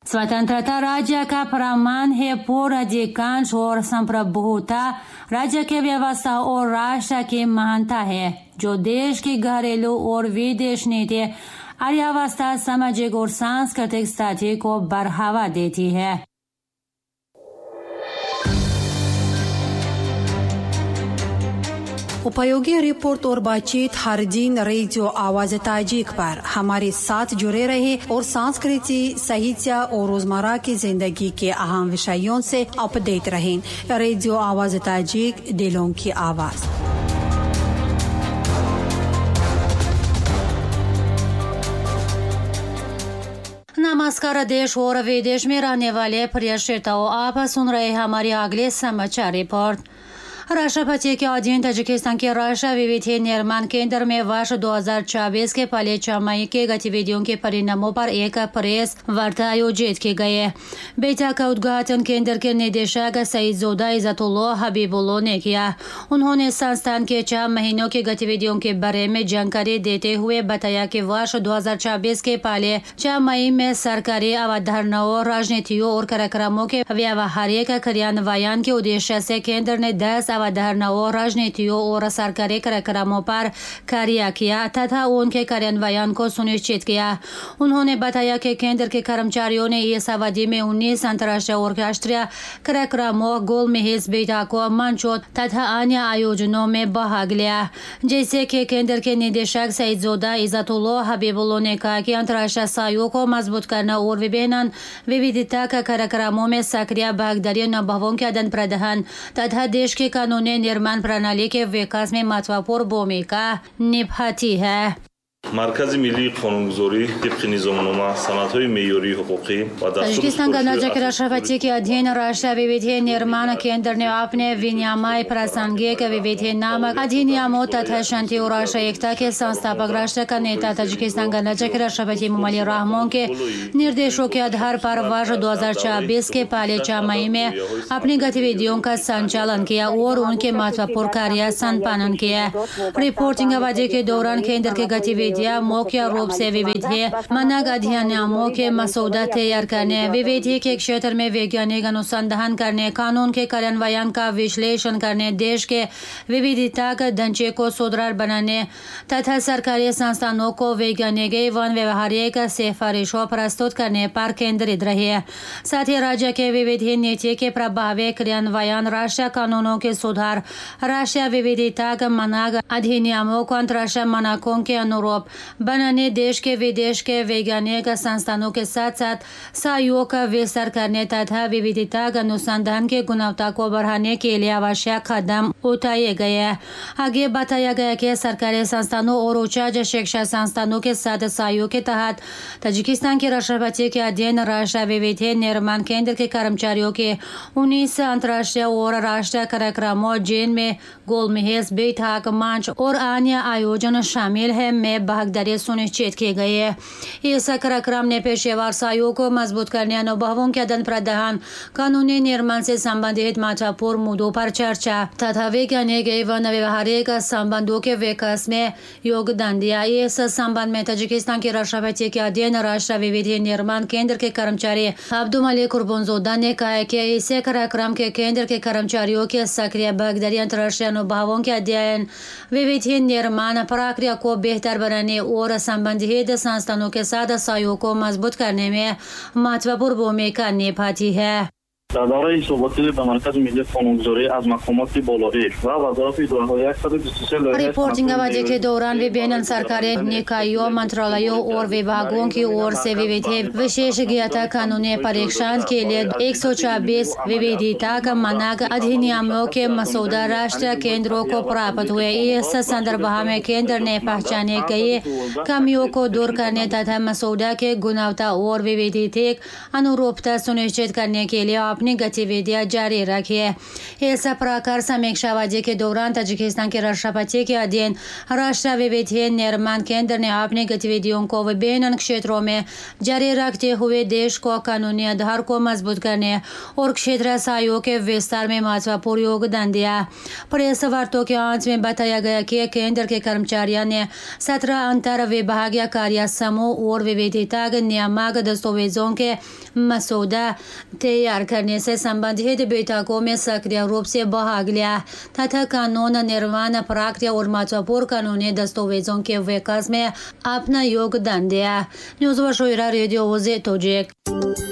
स्वतंत्रता राज्य का प्रमाण है, पूर्ण अधिकांश और संप्रभुता राज्य की व्यवस्था और राष्ट्र की महानता है, जो देश की घरेलू और विदेश नीति, अर्थव्यवस्था, सामाजिक और सांस्कृतिक स्थिति को बढ़ावा देती है। उपयोगी रिपोर्ट और बातचीत हर दिन रेडियो आवाज ताजिक पर हमारे साथ जुड़े रहे और संस्कृति, साहित्य और रोजमर्रा की जिंदगी के अहम विषयों से अपडेट रहें। रेडियो आवाज ताजिक, दिलों की आवाज। नमस्कार देश और विदेश में रहने वाले प्रिय श्रोताओं, आप सुन रहे हमारी अगले समाचार रिपोर्ट। राष्ट्रपति के अधीन ताजिकिस्तान के राष्ट्र विविधि निर्माण केंद्र में वर्ष 2024 के पहले छमाही के गतिविधियों के परिणामों पर एक प्रेस वार्ता आयोजित की गई। बैठक का उद्घाटन केंद्र के निदेशक सईदज़ोदा इज़्ज़तुल्लाह हबीबुल्लाह ने किया। उन्होंने संस्थान के 6 महीनों की गतिविधियों के बारे में जानकारी देते हुए बताया कि वर्ष 2024 के पहले 6 महीने में सरकारी अवधारणाओं, राजनीतियों और कार्यक्रमों के व्यावहारिक क्रियान्वयन के उद्देश्य से केंद्र ने 10 अवधारणाओं, राजनीतियों और सरकारी कार्यक्रमों पर कार्य किया तथा उनके कार्यान्वयन को सुनिश्चित किया। उन्होंने बताया कि केंद्र के कर्मचारियों ने इस अवधि में 19 अंतर्राष्ट्रीय और राष्ट्रीय कार्यक्रमों, गोलमेज बैठकों, मंचों तथा अन्य आयोजनों में भाग लिया। जैसे कि केंद्र के निदेशक सईदज़ोदा इज़्ज़तुल्लाह हबीबुल्लाह ने कहा कि अंतर्राष्ट्रीय सहयोग को मजबूत करना और विभिन्न विविधता के कार्यक्रमों में सक्रिय भागीदारी, अनुभवों के आदान प्रदान तथा देश के कानूनी निर्माण प्रणाली के विकास में महत्वपूर्ण भूमिका निभाती है। Маркази миллии қонунгузорӣ тибқи низомнома, санадҳои меъёрии ҳуқуқӣ ва Таджикистан गणराज्य के राष्ट्रपति के अधीन राष्ट्र विविधि निर्माण केंद्र ने अपने विनियमय प्रासंगिक विविधि नामक अधिनियमों तथा शांति और राष्ट्र एकता के संस्थापक राष्ट्र का नेता ताजिकिस्तान गणराज्य के राष्ट्रपति इमोमाली रहमोन के निर्देशों के आधार पर वर्ष 2024 के पहले 6 महीने में अपनी गतिविधियों का संचालन किया और उनके महत्वपूर्ण कार्य संपादन किया। रिपोर्टिंग अवधि के दौरान केंद्र की गतिविधि मुख्य रूप से विविध मानक अधिनियमों के मसौदा तैयार करने, विविधि के क्षेत्र में वैज्ञानिक अनुसंधान करने, कानून के कार्यान्वयन का विश्लेषण करने, देश के विविधता के ढांचे को सुदृढ़ बनाने तथा सरकारी संस्थानों को वैज्ञानिक एवं व्यवहारिक सिफारिशों प्रस्तुत करने पर केंद्रित रहे। साथ ही राज्य के विविध नीति के प्रभावी क्रियान्वयन, राष्ट्रीय कानूनों के सुधार, राष्ट्रीय विविधता के मानक अधिनियमों को अंतर्राष्ट्रीय मानकों के अनुरूप बनाने, देश के विदेश के वैज्ञानिक संस्थानों के साथ साथ सहयोग का विस्तार करने तथा विविधता अनुसंधान की गुणवत्ता को बढ़ाने के लिए आवश्यक कदम उठाए गए। आगे बताया गया कि सरकारी संस्थानों और उच्च शिक्षा संस्थानों के साथ सहयोग के तहत ताजिकिस्तान के राष्ट्रपति के अधीन राष्ट्र विविध निर्माण केंद्र के कर्मचारियों के 19 अंतर्राष्ट्रीय और राष्ट्रीय कार्यक्रमों, जिनमें गोलमेज बैठक, मंच और अन्य आयोजन शामिल है, में भागीदारी सुनिश्चित की गई है। इस कार्यक्रम ने पेशेवर सहयोग को मजबूत करने, अनुभवों के आदान प्रदान, कानूनी निर्माण से संबंधित महत्वपूर्ण मुद्दों पर चर्चा तथा वैज्ञानिक एवं व्यवहारिक संबंधों के विकास में योगदान दिया। इस संबंध में ताजिकिस्तान के राष्ट्रपति के अधीन राष्ट्र विविध निर्माण केंद्र के कर्मचारी अब्दुलमलिक कुर्बानज़ोदा ने कहा कि इस कार्यक्रम के केंद्र के कर्मचारियों के सक्रिय भागीदारी अंतर्राष्ट्रीय अनुभवों के अध्ययन, विविध निर्माण प्रक्रिया को बेहतर बनाने और संबंधित संस्थानों के साथ सहयोग को मजबूत करने में महत्वपूर्ण भूमिका निभाती है। Дар давраи ҳисоботӣ ба Маркази миллии қонунгузорӣ аз мақомоти болоӣ ва вазорати идораҳо 123 лоиҳаи रिपोर्टिंग अवधि के दौरान विभिन्न सरकारी निकायों, मंत्रालयों और विभागों की ओर से विविध विशेषज्ञता कानूनी परीक्षण के लिए 126 विविधता का मानक अधिनियमों के मसौदा राष्ट्रीय केंद्रों को प्राप्त हुए। इस संदर्भ में केंद्र ने पहचाने गई कमियों को दूर करने तथा मसौदा के गुणवत्ता और विविधता अनुरूपता सुनिश्चित करने के लिए अपनी गतिविधियां जारी रखी है। इस प्रकार समीक्षा अवधि के दौरान ताजिकिस्तान के राष्ट्रपति के अधीन राष्ट्र विविधि निर्माण केंद्र ने अपनी गतिविधियों को विभिन्न क्षेत्रों में जारी रखते हुए देश को कानूनी आधार को मजबूत करने और क्षेत्र सहयोग के विस्तार में महत्वपूर्ण योगदान दिया। प्रेस वार्ता के अंत में बताया गया कि केंद्र के कर्मचारियों ने 17 अंतर विभागीय कार्य समूह और विविधता नियामक दस्तावेजों के मसौदा तैयार करने से संबंधित बैठकों में सक्रिय रूप से भाग लिया तथा कानून निर्माण प्रक्रिया और महत्वपूर्ण कानूनी दस्तावेजों के विकास में अपना योगदान दिया। News Вашоира, радио Тоҷик.